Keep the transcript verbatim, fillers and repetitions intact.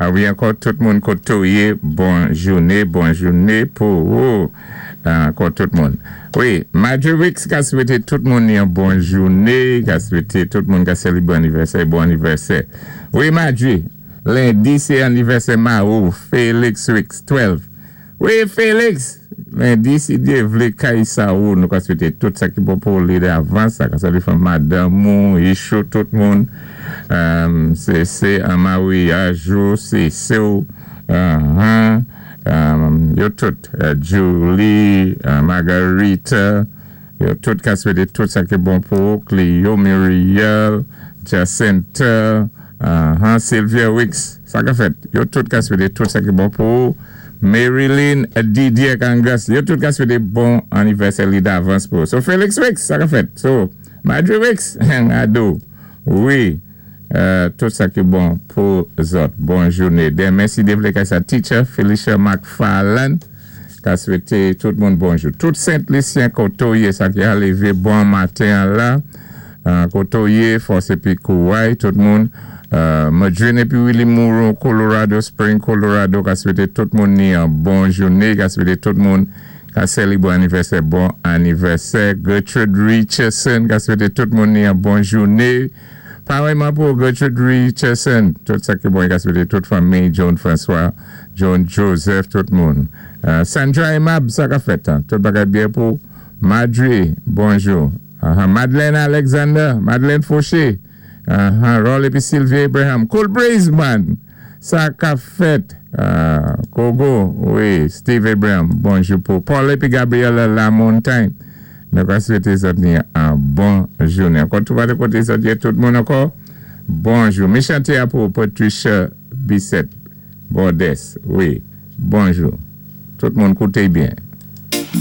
A wi, ankò tout moun koto yé, bon jouné, bon jouné pou ou. Ankò tout moun. Wi, Marjorie Wicks ka swété tout moun yon bon jouné, ka swété tout moun ka sélébwé anivèsè, bon anivèsè. Wi, Marjorie, lendi sé anivèsè mari ou, Félix Wicks, twelve. Wi, Félix, lendi, si Dye vlé kay sa ou, nou ka swété tout sa ki bon pou li davans, sa ka salwé fanm madanm ou, Ichou, tout moun. Um, sé sé an maryaj ou, sé sé ou, uh-huh, um, yo tout, uh, Julie, uh, Margarita, yo tout ka swété tout sa ki bon pou Clio, Muriel, Jacinta, uh-huh, Sylvia Wicks, sa ka fèt, yo tout ka swété tout sa ki bon pou Marilyn Didier Kangas, yo tout ka swété bon anivèsè li davans pou. So Felix Wicks, sa ka fèt. So, Marjorie Wicks, ado, wi, euh, tout sa ki bon pou zòt. Bon jouné. Denmen, si Dye vlé kay sa teacher, Felicia McFarland, ka swété tout moun bonjou. Tout Sent-Lisyen koto yé, sa ki a lévé bon maten la, euh, koto yé, fòs épi kouway, tout moun. Euh, Madrine épi Willie Moreau, Colorado Spring, Colorado, ka swété tout moun ni an bon jouné, ka swété tout moun ka sélébwé anivèsè, bon anivèsè. Gertrude Richardson, ka swété tout moun ni an bon jouné. Parèyman pou Gertrude Richardson, tout sa ki bon, ka swété tout fanmi, John François, John Joseph, tout moun. Euh, Sandra Emab, sa ka fèt, hein? Tout bagay byen pou Madri, bonjou. Uh-huh. Madeleine Alexander, Madeleine Fauché, uh-huh. Roll épi Sylvie Abraham, Cool Breeze Man, sa ka fèt, uh, Kogo, wi, Steve Abraham, bonjou pou Paul épi Gabriela Lamontagne. Nou ka swété zòt ni an bon jouné. Ankò tout koté koté zòt yé tout moun ankò. Bonjou. Mi chanté a pou Patricia Bissett Bordes. Wi, bonjou. Tout moun kouté byen.